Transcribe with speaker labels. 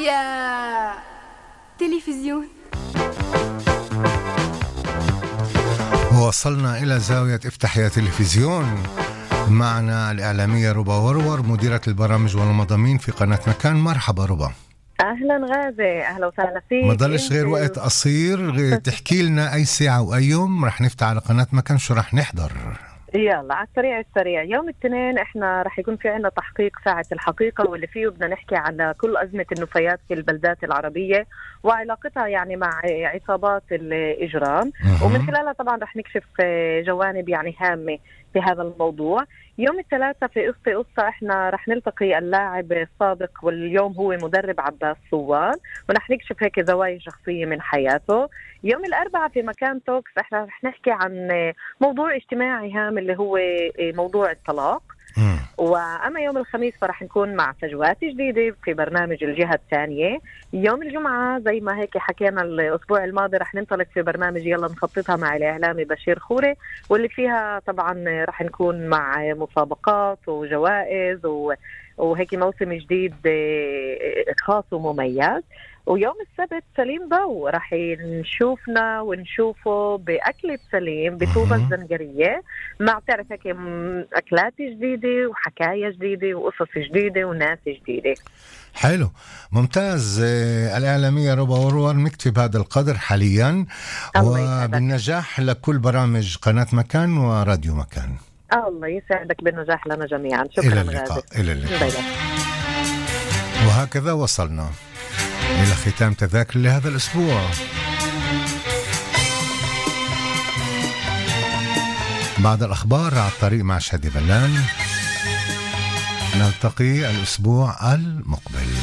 Speaker 1: يا تلفزيون.
Speaker 2: وصلنا إلى زاوية افتح يا تلفزيون. معنا الإعلامية ربا ورور، مديرة البرامج والمضامين في قناة مكان. مرحبا ربا.
Speaker 3: أهلا غازي، أهلا وسهلا فيك.
Speaker 2: ما ضلش غير وقت قصير تحكي لنا أي ساعة وأي يوم رح نفتح على قناة مكان، شو رح نحضر؟
Speaker 3: يلا على السريع. يوم الاثنين احنا رح يكون في عنا تحقيق ساعة الحقيقة، واللي فيه بدنا نحكي على كل أزمة النفايات في البلدات العربية وعلاقتها يعني مع عصابات الإجرام، ومن خلالها طبعا رح نكشف جوانب يعني هامة في هذا الموضوع. يوم الثلاثاء في قصة احنا رح نلتقي اللاعب السابق واليوم هو مدرب عباس صوان، ورح نكشف هيك زوايا شخصية من حياته. يوم الأربعاء في مكان توكس احنا رح نحكي عن موضوع اجتماعي هام اللي هو موضوع الطلاق. وأما يوم الخميس فرح نكون مع فجوات جديدة في برنامج الجهة الثانية. يوم الجمعة زي ما هيك حكينا الأسبوع الماضي رح ننطلق في برنامج يلا نخططها مع الإعلامي بشير خوري، واللي فيها طبعا رح نكون مع مسابقات وجوائز وهيك موسم جديد خاص ومميز. ويوم السبت سليم ضو رح نشوفنا ونشوفه بأكلة سليم بطوبة الزنجرية، مع تعرف هيك أكلات جديدة وحكاية جديدة وقصص جديدة وناس جديدة.
Speaker 2: حلو، ممتاز. الإعلامية ربا ورور نكتب هذا القدر حاليا، وبالنجاح لكل برامج قناة مكان وراديو مكان.
Speaker 3: الله يسعدك، بالنجاح لنا جميعا. شكرا.
Speaker 2: إلى اللقاء. إلى اللقاء. وهكذا وصلنا إلى ختام تذاكر لهذا الأسبوع. بعد الأخبار على الطريق مع شادي بلان، نلتقي الأسبوع المقبل.